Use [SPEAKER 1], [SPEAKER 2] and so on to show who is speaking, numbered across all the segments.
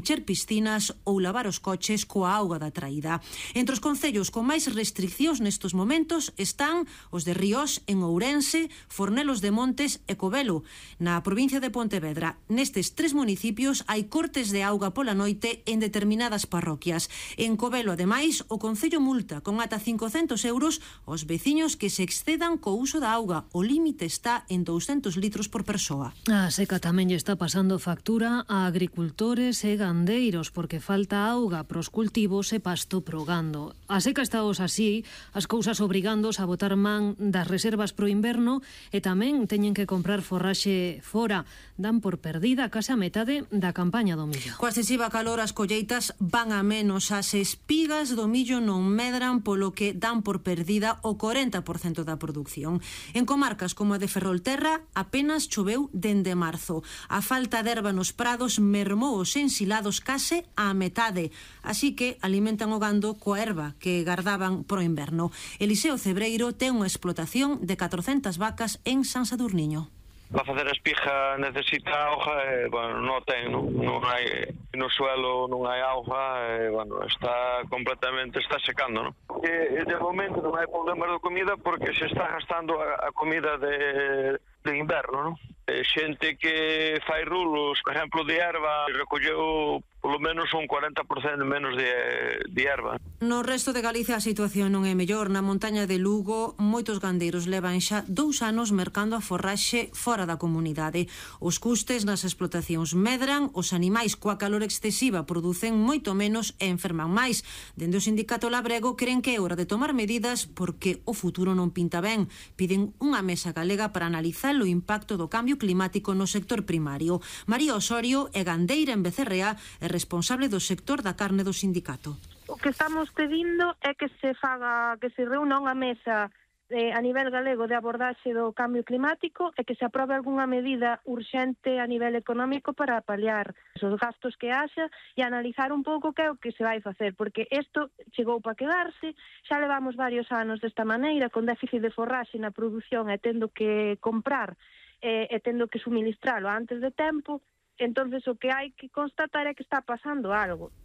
[SPEAKER 1] encher piscinas ou lavar os coches coa auga da traída. Entre os concellos con máis restriccións nestes momentos están os de Ríos, en Ourense, Fornelos de Montes e Covelo. Na provincia de Pontevedra, nestes 3 municipios hai cortes de auga pola noite en determinadas parroquias. En Covelo, ademais, o Concello multa con ata 500 euros os veciños que se excedan co uso da auga. O límite está en 200 litros por persoa.
[SPEAKER 2] A seca tamén lle está pasando factura a agricultores e gandeiros porque falta auga pros cultivos e pasto pro gando. A seca está así, as cousas obrigandos a botar man das reservas pro inverno e tamén teñen que comprar forraxe fora. Dan por perdida case a metade da campaña do millo.
[SPEAKER 1] Coa excesiva calor as colleitas van a menos, as espigas do millo non medran, polo que dan por perdida o 40% da produción. En comarcas como a de Ferrolterra apenas choveu dende marzo. A falta de erva nos prados mermou os ensilados case á metade, así que alimentan o gando coa erva que gardaban pro inverno. Eliseo Cebreiro ten unha explotación de 400 vacas en San Sadurniño.
[SPEAKER 3] Para facer a espiga necesita auga e, bueno, non ten, non hai no suelo, non hai auga e, bueno, está secando, non? E de momento non hai problema de comida porque se está gastando a comida de inverno, non? Xente que fai rulos, por exemplo, de erva, recolleu polo menos un 40% menos de erva.
[SPEAKER 1] No resto de Galicia a situación non é mellor. Na montaña de Lugo, moitos gandeiros levan xa 2 anos mercando a forraxe fora da comunidade. Os custes nas explotacións medran, os animais coa calor excesiva producen moito menos e enferman máis. Dende o sindicato labrego creen que é hora de tomar medidas porque o futuro non pinta ben. Piden unha mesa galega para analizar o impacto do cambio climático no sector primario. María Osorio é gandeira en Becerrea e responsable do sector da carne do sindicato.
[SPEAKER 4] O que estamos pedindo é que se reúna unha mesa a nivel galego de abordaxe do cambio climático e que se aprobe algunha medida urxente a nivel económico para paliar os gastos que haxa e analizar un pouco que é o que se vai facer, porque isto chegou para quedarse, xa levamos varios anos desta maneira, con déficit de forraxe na produción e tendo que comprar e tendo que suministralo antes de tempo. Entonces o que hai que constatar é que está pasando algo.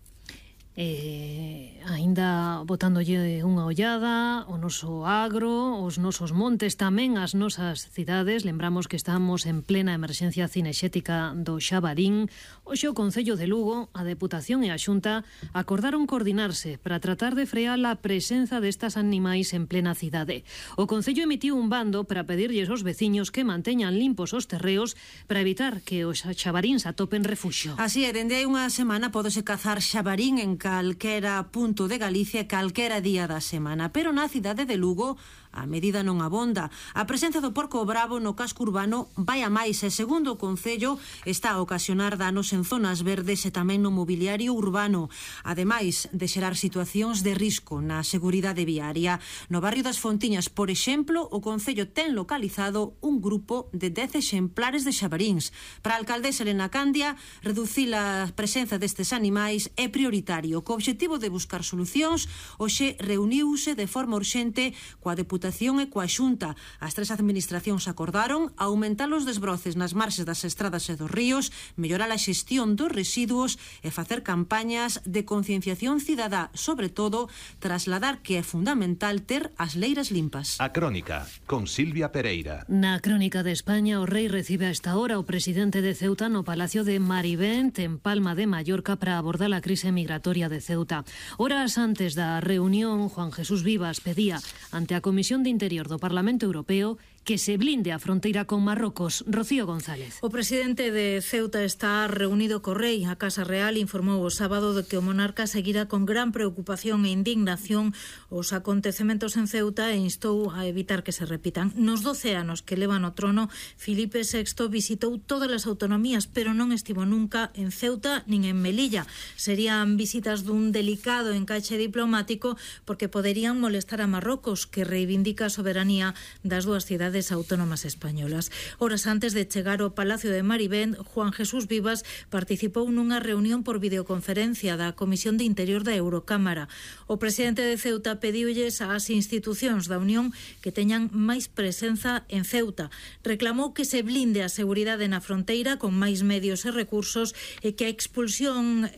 [SPEAKER 2] Aínda botándolle unha ollada o noso agro, os nosos montes, tamén as nosas cidades. Lembramos que estamos en plena emerxencia cinexética do xabarín. Hoxe o Concello de Lugo, a Deputación e a Xunta acordaron coordinarse para tratar de frear a presenza destas animais en plena cidade. O Concello emitiu un bando para pedirlles aos veciños que manteñan limpos os terreos para evitar que os xabaríns atopen refuxio.
[SPEAKER 1] Así é, dende hai unha semana podese cazar xabarín en calquera punto de Galicia, calquera día da semana, pero na cidade de Lugo a medida non abonda. A presenza do porco bravo no casco urbano vai a máis e, segundo o Concello, está a ocasionar danos en zonas verdes e tamén no mobiliario urbano, ademais de xerar situacións de risco na seguridade viaria. No barrio das Fontiñas, por exemplo, o Concello ten localizado un grupo de 10 exemplares de xabaríns. Para a alcaldesa Elena Candia, reducir a presenza destes animais é prioritario. Co obxectivo de buscar solucións, hoxe reuniuse de forma urxente coa Deputación e coa Xunta. As 3 administracións acordaron aumentar os desbroces nas marxes das estradas e dos ríos, mellorar a xestión dos residuos e facer campañas de concienciación cidadá, sobre todo trasladar que é fundamental ter as leiras limpas.
[SPEAKER 5] A Crónica, con Silvia Pereira.
[SPEAKER 2] Na Crónica de España, o rei recibe a esta hora o presidente de Ceuta no Palacio de Marivent, en Palma de Mallorca, para abordar a crise migratoria de Ceuta. Horas antes da reunión, Juan Jesús Vivas pedía ante a Comisión de Interior do Parlamento Europeo que se blinde a fronteira con Marrocos. Rocío González.
[SPEAKER 6] O presidente de Ceuta está reunido co rei. A Casa Real informou o sábado de que o monarca seguirá con gran preocupación e indignación os acontecementos en Ceuta e instou a evitar que se repitan. Nos 12 anos que leva no trono, Filipe VI visitou todas as autonomías, pero non estivo nunca en Ceuta nin en Melilla. Serían visitas dun delicado encaixe diplomático porque poderían molestar a Marrocos, que reivindica a soberanía das dúas cidades autónomas españolas. Horas antes de chegar ao Palacio de Marivent, Juan Jesús Vivas participou nunha reunión por videoconferencia da Comisión de Interior da Eurocámara. O presidente de Ceuta pediulles ás institucións da Unión que teñan máis presenza en Ceuta. Reclamou que se blinde a seguridade na fronteira con máis medios e recursos e que a expulsión